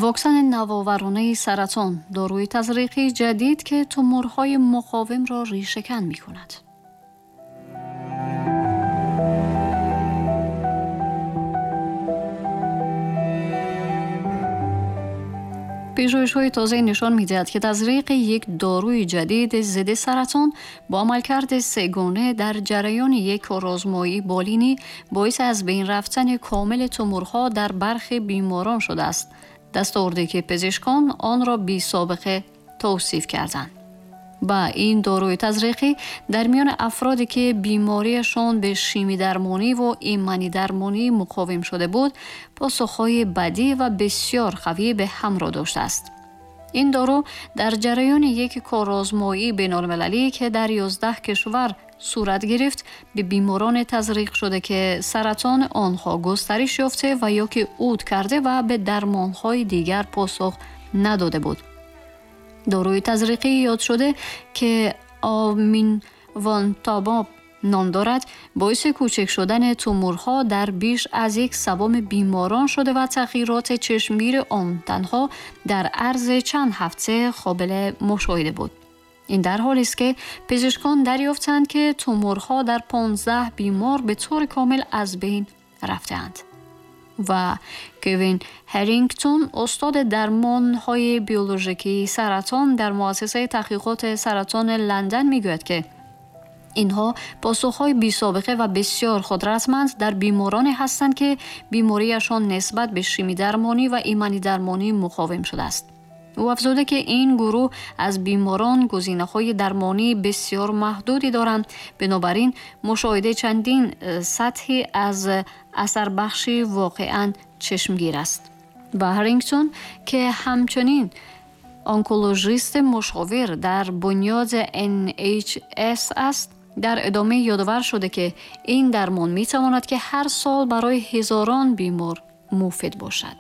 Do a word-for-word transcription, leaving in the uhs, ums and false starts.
Воксани навоваронаи саратон, доруи тазриқии ҷадид, ки туморҳои муқовимро решакан мекунад. Пажӯҳишҳои тоза нишон медиҳад, ки тазриқи як доруи ҷадид зидди саратон бо амалкарди сегона дар ҷараёни як корозмоии болинӣ боиси аз байн рафтани комили туморҳо дар бархи беморон шудааст. Дастоварде ки пизишкон онро бесобиқа тавсиф карданд. Ба ин доруи тазриқӣ дар миёни афроде ки бемориашон ба шимидармонӣ ва иманидармонӣ муқовим шуда буд, посухҳои бадӣ ва бисёр қавӣ ба ҳамроҳ доштааст. Ин дору дар ҷараёни як корозмоии байналмилалӣ, ки дар ёздаҳ кишвар сурат гирифт, ба бемороне тазриқ шуда, ки саратони онҳо густариш ёфта ва ё ки уд карда ва ба дармонҳои дигар посух надода буд. Доруи тазриқӣ ёд шуда, ки аминвантабоб ном дорад, боиси кӯчак шудани туморҳо дар беш аз як севуми беморон шуда ва тағйироти чашмгири он танҳо дар арзи чанд ҳафта қобили мушоҳида буд. Ин дар ҳолест, ки пизишкон дарёфтанд, ки туморҳо дар понздаҳ бемор ба таври комил аз байн рафтаанд. Ва Кевин Ҳарингтон, устоди дармонҳои биологикии саратон дар муассисаи таҳқиқоти саратони Лондон, мегӯяд, ки инҳо посухҳои бесобиқа ва бисёр қудратманд дар бемороне ҳастанд, ки бемориашон нисбат ба шимидармонӣ ва иманидармонӣ муқовим шудааст. Ӯ афзуда, ки ин гурӯҳ аз беморон гузинаҳои дармонии бисёр маҳдуде доранд, бинобар ин мушоҳидаи чандин сатҳи аз асарбахшӣ воқеан чашмгир аст. Ва Ҳарингтон, ки ҳамчунин онкологисти мушовир дар бунёди Н Ҳ С аст, дар идома ёдовар шуда, ки ин дармон метавонад, ки ҳар сол барои ҳазорон бемор муфид бошад.